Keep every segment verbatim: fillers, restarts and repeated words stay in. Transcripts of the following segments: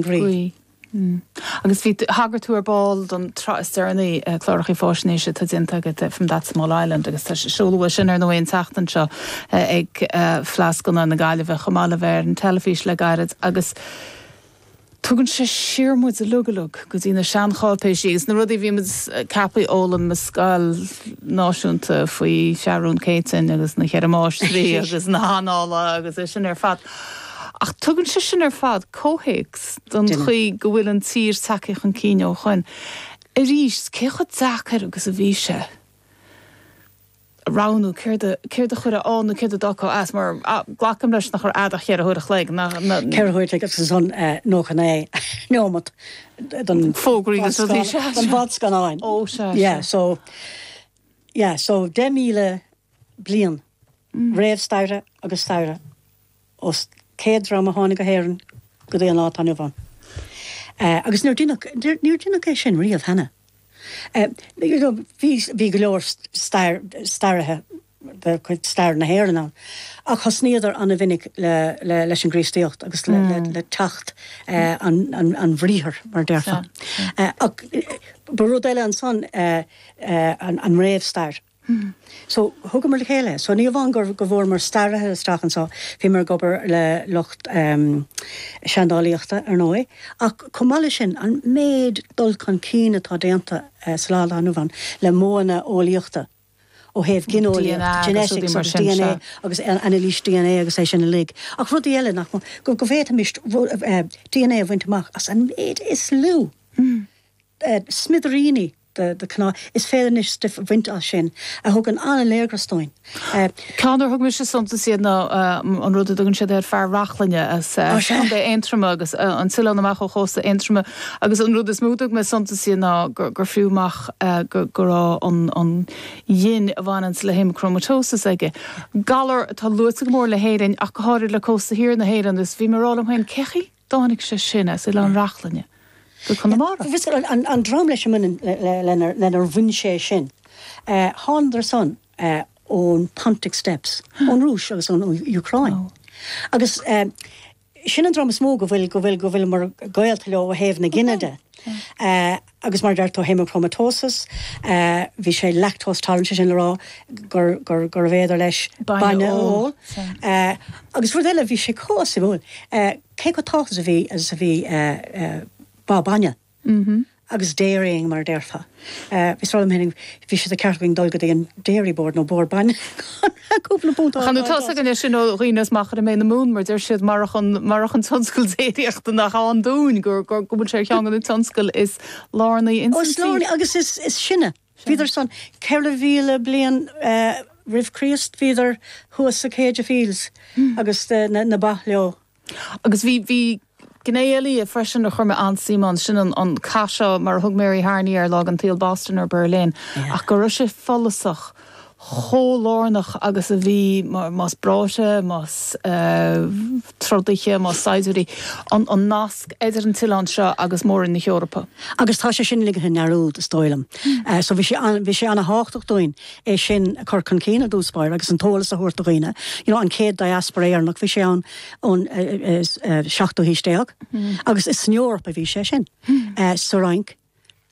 Gaoth. Mm. Agus bhí thagair tú ar ball don tsraith is deireanaí uh, cláracha faisnéise atá déanta agat uh, from that small island agus tá seoladh sin ar ndóigh an tseachtain seo uh, ag uh, Fleadh Scannán na Gaillimhe chomh maith le bheith ar an teilifís le gairid agus tugann sé siar muid uilig uilig go dtí na seancháipéisí agus na rudaí bhí muid ceaptha a fhoghlaim i scoil náisiúnta faoi Sheathrún Céitinn agus na ceithre máistrí agus na hannála agus é sin ar fad. Ach tugann sé sin ar fad comhthéacs don chaoi go bhfuil an tír tagtha chun cinn ó shin. Arís cé chomh deacair agus a bhí sé. Roghnú céard a chur ann nó céard a d'fhágáil as mar glacaim leis nach raibh ach ceithre huaire a chloig Ceithre huaire agus ansan nócha naoi nóiméad don fógraí don fhadscannán. Ó se. Yeah, so yeah, so deich míle bliain mm. réamhstaire agus staire os céad dream a tháinig go hÉirinn go dtí an lá atá inniu ann. Uh, agus níor deineadh é sin riamh cheana. Uh, bhí go leor staraithe de chuid stair na hÉireann ann. Ach thosnaíodar an-mhinic le, le, leis an gCríostaíocht agus le, mm. le, le teacht uh, an, an, an bhriathar mar déarfá. Uh, ach ba rud eile ansan uh, uh, an, an réamhstair. Mm. So thugamar le chéile, so ní amháin gur go bhfuair mar staraithe isteach anseo bhíomar ag obair le lucht um, seandálaíochta ar ndóigh, ach chomh maith leis sin an méid dul chun cinn atá déanta uh, sa lá inniu ann le modhanna eolaíochta. ó thaobh gineolaíocht genetics agus DNA agus anailís DNA agus é sin uilig. Ach rudaí eile nach go go bhféadfaimis uh, DNA a bhaint amach as an méid is lú. Mm. Uh, smidiríní de de cnámh is féidir anois stuif a bhaint as sin a thugann an-léargas dúinn. Ceann ar thug mise suntas iad ná an rud a dtugann siad ar fear Reachlainne as Contae Aontroma agus an t-oileán amach ó chósta Aontroma agus an rud is mó a thug mé suntas iad ná gur fiú amach go raibh an an ghin a bhaineann le haemacromatosis aige. Galar atá luaite go mór le hÉirinn ach go háirid le cósta thiar na hÉireann dus bhí mé ag rá liom féin cén chaoi a dtáinig sé sin as Oileán Reachlainne. Go Conamara. An, an dream leis lenar bhain sé sin. Uh, Thángadar san uh, ón Pontic Steppes, ón Rúis agus ón Úcráin. Oh. Agus uh, sin an dream is mó go bhfuil go bhfuil go bhfuil mar gaolta leo ó thaobh na gine de. Uh, agus mar deir tú hemochromatosis, uh, bhí sé lactose tolerant sin le rá gur gur gur bhféidir leis bainne a ól. Uh, agus rud eile bhí sé cosúil. Uh, cé chomh tábhachtach a bhí agus a bhí uh, uh, ba bainne. Mm -hmm. Agus dairying mar déarfá. Uh, Bhí rá bhí sé ceart againn dul go dtí an dairy board nó bord bainne cúpla punt Chan tá gan sin ó rinas maach mé na mún mar deir siad mar mar an tionscal déiríochta nach ann dúinn gur gur go bhfuil sé ceann an tionscal is lárnaí in agus is is sinne. Bhíodar san ceithre mhíle bliain uh, roimh Chríost bhíodar thuas sa Céide Fields mm. agus uh, na, na ba leo. Agus bhí bhí Gné eile freisin a chuir mé an-suim ann sin an an cath seo mar thug Mary Harney ar lá an tsaoil Boston or Berlin ach go raibh sé follasach chomh lárnach agus a bhí más breoite más uh, trodaithe más saighdiúirí an, an nasc idir an t-oileán seo agus mór-roinn na hEorpa. Agus tá sé sin ligthe i ndearúd is dóigh liom. Mm. Uh, so bhí sé bhí sé an-thábhachtach dúinn é sin a chur chun cinn i dtús báire agus an t-eolas a thabhairt do dhaoine. You know, an chéad diaspora Éireannach bhí sé an ón uh, uh, seachtú haois déag mm. agus is san Eoraip a bhí sé sin. Mm. Uh, sa Fhrainc,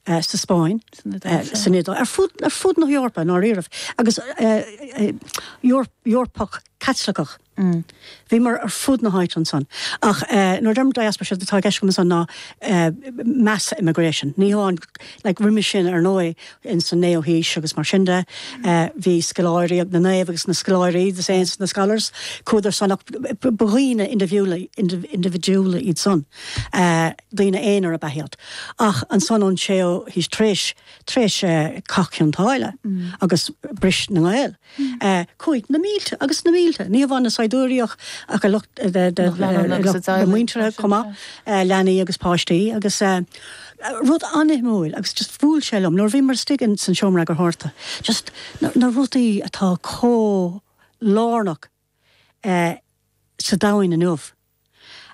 Uh, sa Spáin san Iodáil ar fud ar fud na hEorpa ná riamh agus uh, uh, Eorpach Caitliceach. Mm. Bhíomar ar fud na háite ansan. Ach uh, nuair deirim diaspora sé atá i gceist agam ansan ná uh, mass immigration. Ní hamháin like, roimhe sin ar ndóigh in san naoú haois agus mar sin de uh, bhí scoláirí ag na naoimh agus na scoláirí the saints na scholars chuadar san ach ba dhaoine individual individual iad san uh, daoine aonair ab ea iad. Ach ansan ón séú haois tar éis tar éis uh, Cath Chionn tSáile mm. agus bris na nGael. Mm. Uh, chuaigh na mílte agus na mílte. Ní amháin na saighdiúirí ach a lucht muintire chomh maith leanaí agus páistí agus rud an-shuimiúil agus just bhuail sé liom nuair bhíomar istigh in san seomra eagarthóireachta. Just na, na rudaí atá chomh lárnach uh, sa domhan inniu.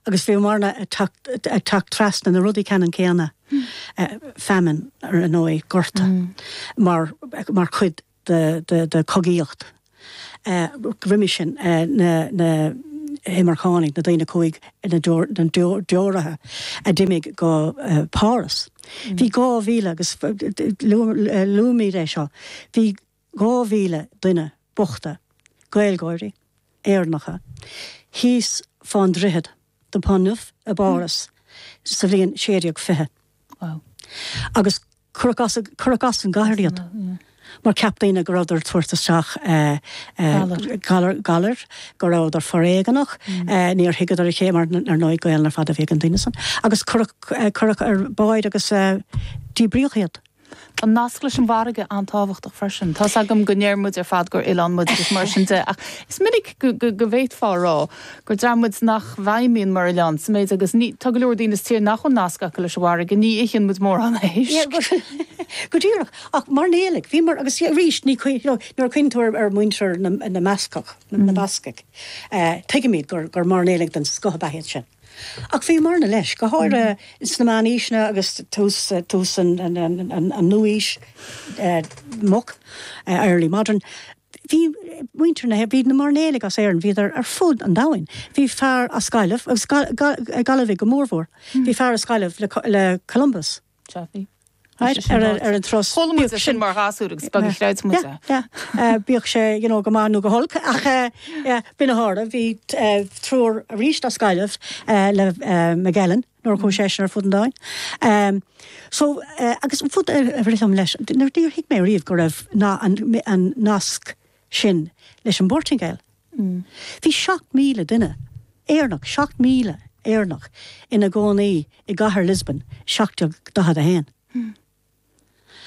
Agus bhíomarna ag teacht trasna na rudaí ceannann céanna mm. uh, famine ar ndóigh gorta mm. mar, mar chuid de, de, de cogaíocht. Uh, roimhe sin uh, na, na imirceánaigh, na daoine a chuaigh, na deoraithe a d'imigh go Páras. Bhí dhá mhíle, agus luaimid é seo, bhí dhá mhíle duine bochta, Gaeilgeoirí, Éireannacha, thíos fán droichead, the Pont Neuf, i bPáras sa bhliain sé déag fiche. Agus cuireadh as, cuireadh as an gcathair iad. Mar cheap daoine go rabhadar ag tabhairt isteach galar, galar, go rabhadar foréigeanach, níor thuigeadar a chéile mar ar ndóigh Gaelainn ar fad a bhí ag an daoine san. Agus cuireadh, cuireadh ar báid agus díbríodh iad. Tá an nasc leis an bhfarraige an-tábhachtach freisin. Tá's agam go ndeir muid ar fad gur oileán muid agus mar sin de, ach is minic go bhféadfá a rá gur dream muid nach bhfeidhmíonn mar oileán sa méid agus ní, tá go leor daoine sa tír nach bhfuil nasc acu leis an bhfarraige, ní itheann muid mórán éisc. Go díreach. Ach mairnéalaigh, bhíomar, agus arís ní, you know, nuair a chuimhníonn tú ar mhuintir na mBascach, na Bascaigh, tuigimid gur mairnéalaigh den scoth ab ea iad sin. Ach bhíomarna leis, go háirithe sna meánaoiseanna agus tús tús an an nua-aois moch, early modern, bhí muintir na bhí na mairnéalaigh as Éirinn, bhíodar ar fud an domhain. Bhí fear as Gaillimh, agus Gaillimhigh go mórmhór, bhí fear as Gaillimh le le Columbus. Sea, bhí. Right, ar ar an turas. Chuala muid é sin mar ghasúir agus beag a chreid muid é. Yeah, yeah. Bíodh sé, you know, go maith nó go holc ach yeah, b'in a tharla. Bhí triúr arís as Gaillimh le Magellan nuair a chuaigh seisean ar fud an domhain. So, agus an rud a rith liom leis, níor thuig mé riamh go raibh an nasc sin leis an bPortaingéil. Bhí seacht míle duine Éireannach, seacht míle Éireannach ina gcónaí i gcathair Lisbon seacht déag daichead a haon.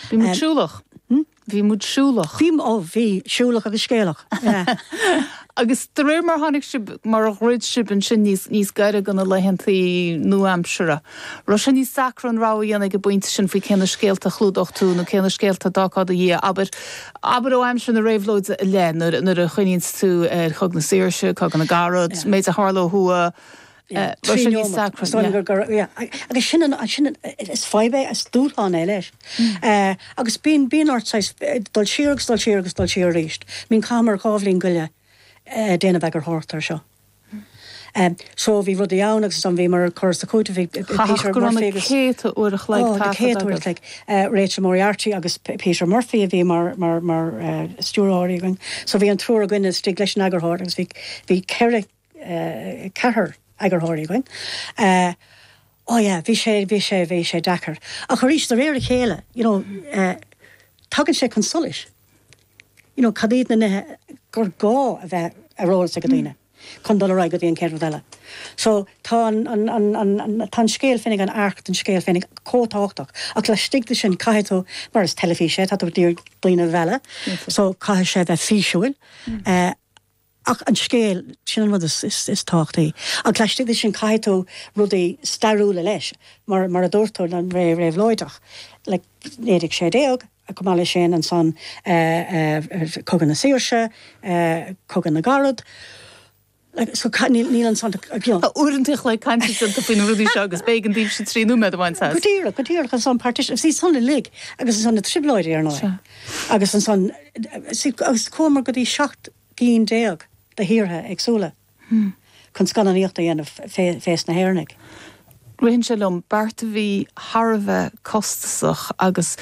Bhí muid siúlach. Bhí muid siúlach. Bhí, ó bhí, siúlach agus scéalach. Agus de réir mar tháinig sibh, mar a dhruid sibh ansin níos, níos gaire do na laethantaí nua-aimseartha, raibh sé níos deacra an rogha a dhéanamh ag an bpointe sin faoi cé na scéalta a chlúdódh tú nó cé na scéalta a d'fhágfá i do dhiaidh, abair, abair ó aimsir na réabhlóide i leith, nuair, nuair a chuimhníonns tú ar Chogadh na Saoirse, Cogadh na gCarad, méid a tharla ó thuaidh, Raibh sé níos deacra. Agus sin an, sin an, is fadhb é, is dúshlán é leis. Agus bíonn, bíonn ort saghas dul siar agus dul siar agus dul siar arís. I mean chaitheamar dhá bhliain go leith ag déanamh eagarthóireacht air seo. So bhí rudaí ann agus ansan bhíomar ag cur is ag cúiteamh, bhí Peter Murphy agus. Céadta uair a chloig taifeadta. Ó, na céadta uair a chloig. Rachel Moriarty agus Peter Murphy a bhí mar, mar, mar stiúrthóirí againn. So bhí an triúr againn istigh leis an eagarthóir agus bhí, bhí ceithre ceathrar eagarthóirí againn. Oh yeah, bhí sé, bhí sé, bhí sé deacair. Ach arís, de réir a chéile, you know, tagann sé chun solais, you know, cad iad na nithe gur gá a bheith ar eolas ag daoine chun dul ar aghaidh go dtí an chéad rud eile. So tá an, an, an, an, an, tá an scéal féinig, an arc den scéal féinig chomh tábhachtach. Ach laistigh de sin caithfidh tú, mar is teilifís é, tá tú ag iarraidh daoine a mhealladh, so caithfidh sé bheith físiúil. Ach an scéal, sin an rud is tábhachtaí. Ach laistigh de sin caithfidh tú rudaí stairiúla leis, mar mar a dúirt tú, an ré réabhlóideach, like naoi déag sé déag, chomh maith leis sin ansan Cogadh na Saoirse, Cogadh na gCarad, like so níl níl ansan you know. Tá uaireanta a chloig cainte déanta faoi na rudaí seo agus b'éigean daoibhse trí nóiméad a bhaint as. Go díreach, go díreach, ansan partition, see san uilig agus ansan na trioblóidí ar ndóigh. Agus ansan, see agus chuamar go dtí seacht gcinn déag de thíortha éagsúla chun scannánaíocht a dhéanamh fés na hÉireannaigh. Ritheann sé liom, beart a bhí thar a bheith costasach agus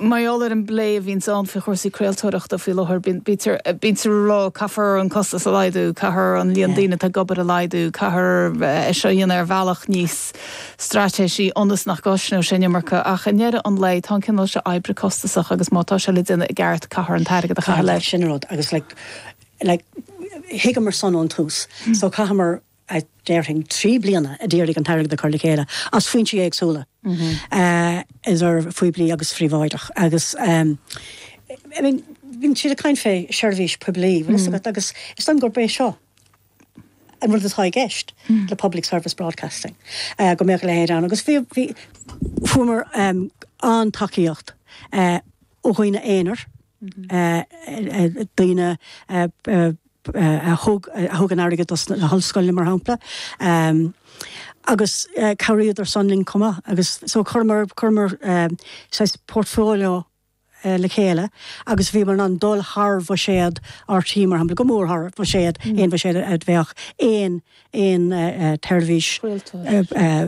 mar gheall ar an bplé a bhíonns ann faoi chúrsaí craoltóireachta faoi láthair, bítear ag rá caithfear an costas a laghdú, caithfear an líon daoine atá ag obair a laghdú, caithfear é seo a dhéanamh ar bhealach níos straitéisí ionas nach gcosnóidh sé an iomarca. Ach i ndeireadh an lae, tá an cineál seo oibre costasach agus má tá sé le déanamh i gceart, caithfear an t-airgead a chaitheamh leis. Sin an rud agus like, like, thuigeamar san ón tús. So chaitheamar, déarfainn, trí bliana a d'iarraidh an t-airgead a chur le chéile as foinsí éagsúla, idir phoiblí agus phríobháideach. Agus I mean, bíonn siad ag caint fé seirbhís poiblí, bhfuil fhios agat, agus is dóigh liom gurb é seo an rud atá i gceist le public service broadcasting, go mbeadh a leithéid ann. Agus bhí, bhí, fuaireamar an-tacaíocht ó dhaoine aonair, daoine a thug, a thug an airgead dos na hollscoileanna, mar shampla, agus chabhraíodar san linn chomh maith. Agus so chuireamar, chuireamar saghas portfolio, le chéile agus bhíomar in ann dul thar bhuiséad R T É mar shampla, go mór thar bhuiséad aon bhuiséad a bheadh aon aon tseirbhís a